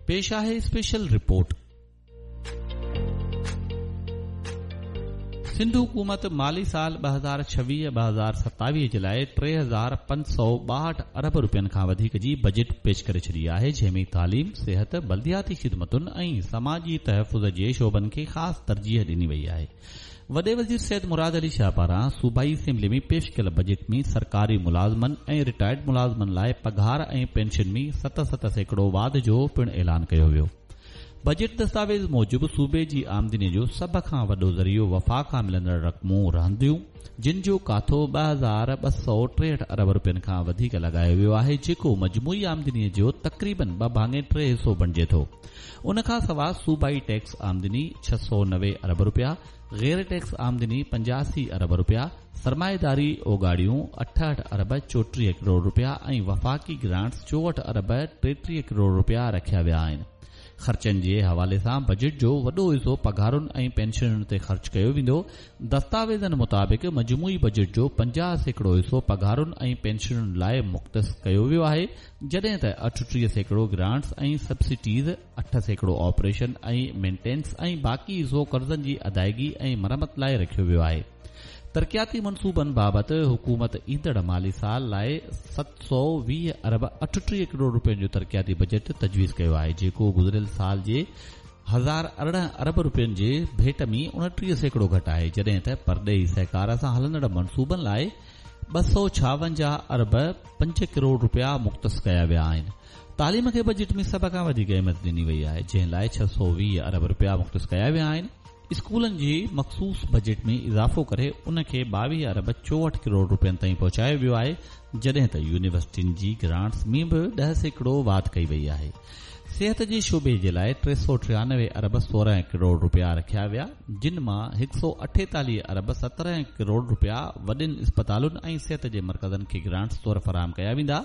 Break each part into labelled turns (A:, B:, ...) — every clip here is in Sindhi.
A: پيش آهي اسپيشل رپورٽ. سنڌ حڪومت مالي سال 2026 2027 جي لاء 3562 ارب رپين کان وڌيڪ جي بجيٽ پيش ڪري ڇڏي آهي، جنهن ۾ تعليم، صحت، بلدياتي خدمتن ۽ سماجي تحفظ جي شعبن کي خاص ترجيح ڏني وئي آهي. وڏي وزير سيد مراد علي شاهه پاران صوبائي اسيمبلي ۾ پيش ڪيل بجيٽ ۾ سرڪاري ملازمن ۽ رٽائرڊ ملازمن لاء پگهار ۽ پينشن ۾ 7-7% واڌ جو پڻ اعلان ڪيو ويو. بجيٽ دستاويز موجب صوبي جي آمدني جو سڀ کان وڏو ذريعو وفاق کان ملندڙ رقمون رهنديون، جن جو ڪاٿو 2263 ارب رپين کان وڌيڪ لڳايو ويو آهي، جيڪو مجموعي آمدني جو تقريبن ٻه ڀاڱي ٽي حصو بڻجي ٿو. ان کان سواء صوبائي ٽيڪس آمدني 690 ارب رپيا، غير ٽيڪس آمدني 85 ارب رپيا، سرمائيداري اوڳاڙيون 68 ارب 34 ڪروڙ رپيا ۽ وفاقي گرانٽس 64 ارب 33 ڪروڙ رپيا رکيا ويا آهن. خرچن جي حوالي سان بجيٽ جو وڏو حصو پگهارن ۽ پينشنن تي خرچ ڪيو ويندو. دستاويزن مطابق مجموعي بجيٽ جو 50% حصو پگهارن ۽ پينشنن لاء مختص ڪيو ويو آهي، جڏهن ته 38% گرانٽس ۽ سبسڊيز، 8% آپريشن ۽ مينٽينس ۽ باقي حصو قرضن جي ادائيگي ۽ مرمت لاء رکيو ويو آهي. ترقياتي منصوبن بابت حڪومت ايندڙ مالي سال لاء 720 ارب 38 ڪروڙ رپين جو ترقياتي بجيٽ تجويز ڪيو آهي، جيڪو گذريل سال جي 1018 ارب رپين جي ڀيٽ ۾ 29% گهٽ آهي، جڏهن ته پرڏيهي سهڪار سان هلندڙ منصوبن لاء 256 ارب 5 ڪروڙ رپيا مختص ڪيا ويا آهن. تعليم کي بجيٽ ۾ سڀ کان وڌيڪ اهميت ڏني وئي آهي، جنهن لاء 620 ارب رپيا مختص ڪيا ويا آهن. اسڪولن جي مخصوص بجيٽ ۾ اضافو ڪري ان کي 22 ارب 64 ڪروڙ رپين تائين پهچايو ويو آهي، جڏهن ته يونيورسٽين جي گرانٽس ۾ به 10% واڌ ڪئي وئي آهي. صحت جي شعبي جي لاء 393 ارب 16 ڪروڙ رپيا رکيا ويا، جن مان 148 ارب 17 ڪروڙ رپيا وڏين اسپتالن ۽ صحت جي مرڪزن کي گرانٽس طور فراهم ڪيا ويندا.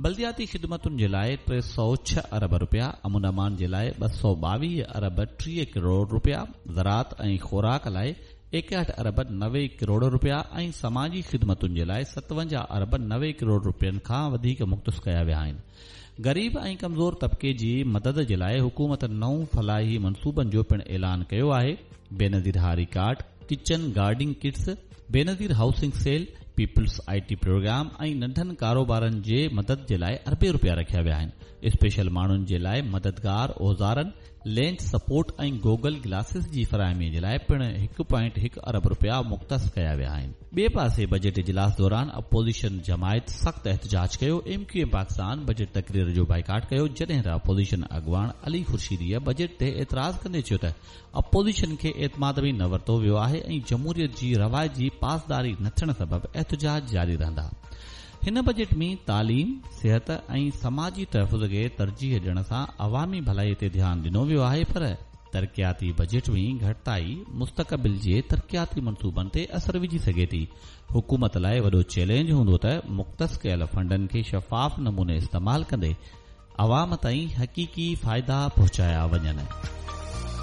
A: بلدياتي خدمتن جي لاء 306 ارب رپيا، امن امان جي لاء 222 ارب 30 ڪروڙ رپيا، زراعت ۽ خوراڪ لاء 61 ارب 90 ڪروڙ رپيا ۽ سماجي خدمتن جي لاء 57 ارب 90 ڪروڙ رپين کان وڌيڪ مختص ڪيا ويا آهن. غريب ۽ ڪمزور طبقي جي مدد جي لاء حڪومت نون فلاحي منصوبن جو پڻ اعلان ڪيو آهي، بينظير هاري card, kitchen gardening kits, Benazir housing cell, peoples I T programme ۽ ننڍن ڪاروبارن جي مدد جي لاء اربين رپيا رکيا ويا آهن. اسپيشل ماڻهن جي لاء مددگار اوزارن، لينس سپورٽ ۽ گوگل گلاسز جي فراهمي جي لاء پڻ هڪ پوائنٽ هڪ ارب رپيا مختص ڪيا ويا آهن. ٻئي پاسي بجيٽ اجلاس دوران اپوزيشن جماعت سخت احتجاج ڪيو، M Q M Pakistan budget تقرير جو بائيڪاٽ ڪيو، جڏهن ته اپوزيشن اڳواڻ علي خورشيديء بجيٽ تي اعتراض ڪندي چيو ته اپوزيشن کي اعتماد ۾ نه ورتو ويو آهي ۽ جمهوريت جي روايت جي پاسداري نه ٿيڻ سبب احتجاج جاري رهندا. هن بجيٽ ۾ تعليم، صحت ۽ سماجي تحفظ کي ترجيح ڏيڻ سان عوامي ڀلائي تي ڌيان ڏنو ويو آهي پر ترقياتي بجيٽ ۾ گهٽتائي مستقبل جي ترقياتي منصوبن تي اثر وجهي سگهي ٿي. حڪومت لاء وڏو چئلينج هوندو ته مختص ڪيل فنڊن کي شفاف نموني استعمال ڪندي عوام تائين حقيقي فائدا پهچايا وڃن.